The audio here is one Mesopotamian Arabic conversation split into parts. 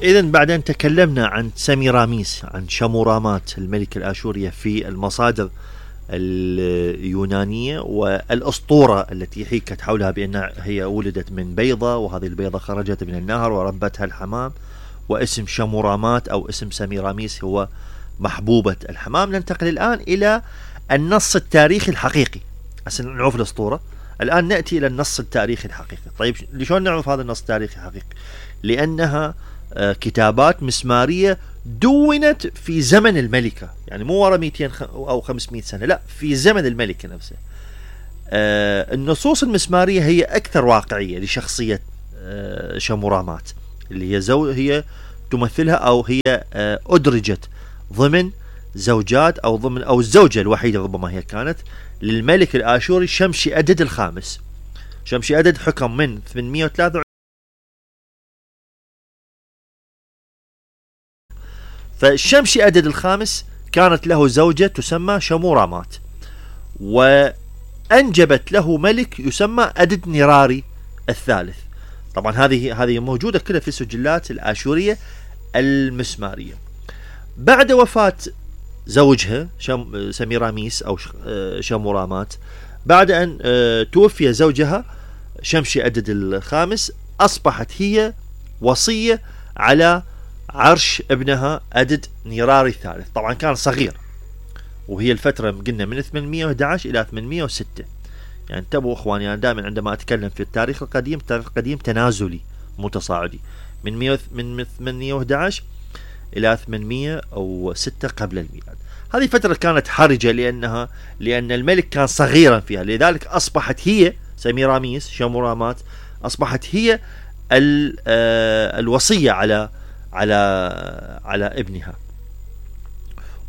إذا بعد أن تكلمنا عن سميراميس، عن شمورامات الملكة الآشورية في المصادر اليونانية، والأسطورة التي حكت حولها بأن هي ولدت من بيضة، وهذه البيضة خرجت من النهر وربتها الحمام، واسم شمورامات أو اسم سميراميس هو محبوبة الحمام. ننتقل الآن إلى النص التاريخي الحقيقي. هسه نعرف الأسطورة، الآن نأتي إلى النص التاريخي الحقيقي. طيب لشون نعرف هذا النص التاريخي الحقيقي؟ لأنها كتابات مسمارية دونت في زمن الملكة، يعني مو ورا 200 أو 500 سنة، لا، في زمن الملكة نفسه. النصوص المسمارية هي أكثر واقعية لشخصية شمورامات، اللي هي تمثلها، أو هي أدرجت ضمن زوجات أو الزوجة الوحيدة ربما هي كانت للملك الآشوري شمشي أدد الخامس. شمشي أدد حكم من 803، فالشمشي أدد الخامس كانت له زوجة تسمى شمورامات، وأنجبت له ملك يسمى أدد نيراري الثالث. طبعا هذه موجودة كلها في السجلات الآشورية المسمارية. بعد وفاة زوجها سميراميس أو شمورامات، بعد أن توفي زوجها شمشي أدد الخامس، أصبحت هي وصية على عرش ابنها أدد نيراري الثالث. طبعا كان صغير، وهي الفترة قلنا من 811 إلى 806. يعني انتبهوا اخواني، انا دائما عندما اتكلم في التاريخ القديم، التاريخ القديم تنازلي متصاعدي، من 811 الى 806 قبل الميلاد. هذه فترة كانت حرجة لأن الملك كان صغيرا فيها، لذلك أصبحت هي سميراميس شمورامات أصبحت هي الوصية على ابنها.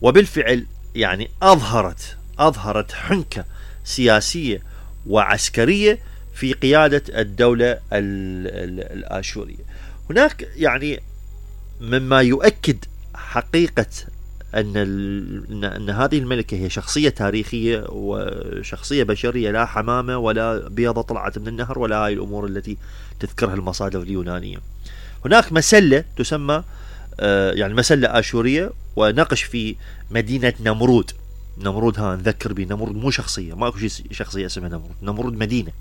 وبالفعل يعني أظهرت حنكة سياسية وعسكرية في قيادة الدولة الآشورية. هناك يعني مما يؤكد حقيقة أن هذه الملكة هي شخصية تاريخية وشخصية بشرية، لا حمامة ولا بيضة طلعت من النهر ولا هاي الأمور التي تذكرها المصادر اليونانية. هناك مسلة تسمى يعني مسلة آشورية، ونقش في مدينة نمرود. نذكر به، نمرود مو شخصية، ماكو شيء شخصية اسمها نمرود مدينة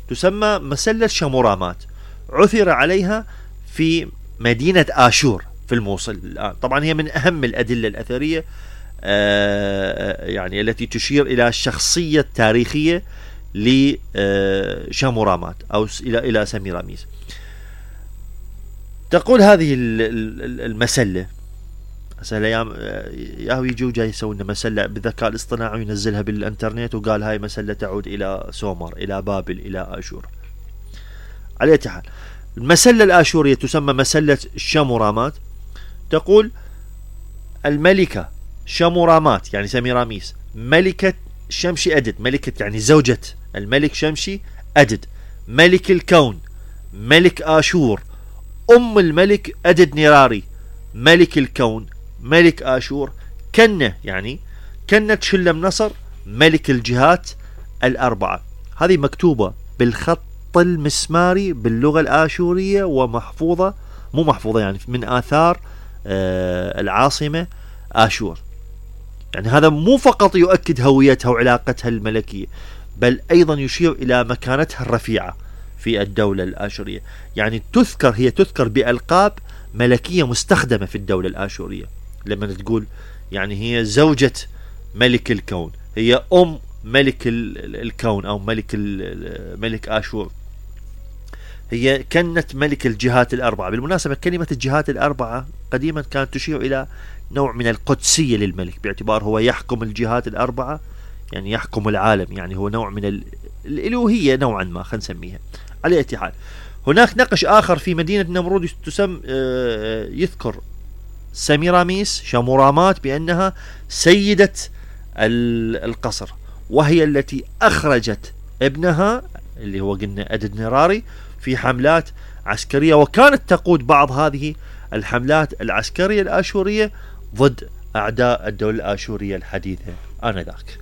تسمى مسلة شمورامات، عثر عليها في مدينة آشور في الموصل الآن. طبعا هي من أهم الأدلة الأثرية يعني التي تشير إلى الشخصية التاريخية لشمورامات أو إلى سميراميس. تقول هذه المسلة، هسه الايام ياهو يجوا جاي يسوون مسله بالذكاء الاصطناعي وينزلها بالانترنت، وقال هاي مسله تعود الى سومر، الى بابل، الى اشور. على اي حال، المسله الاشوريه تسمى مسله شمورامات. تقول الملكه شمورامات يعني سميراميس ملكه شمشي أدد، ملكه يعني زوجة الملك شمشي أدد، ملك الكون، ملك آشور، أم الملك أدد نيراري، ملك الكون، ملك آشور، كنة يعني كنة شلم نصر، ملك الجهات الأربعة. هذه مكتوبة بالخط المسماري باللغة الآشورية، ومحفوظة مو محفوظة يعني من آثار العاصمة آشور. يعني هذا مو فقط يؤكد هويتها وعلاقتها الملكية، بل أيضا يشير إلى مكانتها الرفيعة في الدولة الآشورية. يعني هي تذكر بألقاب ملكية مستخدمة في الدولة الآشورية. لما تقول يعني هي زوجة ملك الكون، هي أم ملك الكون أو ملك آشور، هي كانت ملك الجهات الأربعة. بالمناسبة كلمة الجهات الأربعة قديما كانت تشير إلى نوع من القدسية للملك، باعتبار هو يحكم الجهات الأربعة، يعني يحكم العالم، يعني هو نوع من الإلوهية نوعا ما، خلينا نسميها. على أي حال، هناك نقش آخر في مدينة نمرود يذكر سميراميس شمورامات بأنها سيدة القصر، وهي التي أخرجت ابنها اللي هو قلنا أدد نيراري في حملات عسكرية، وكانت تقود بعض هذه الحملات العسكرية الآشورية ضد أعداء الدولة الآشورية الحديثة آنذاك.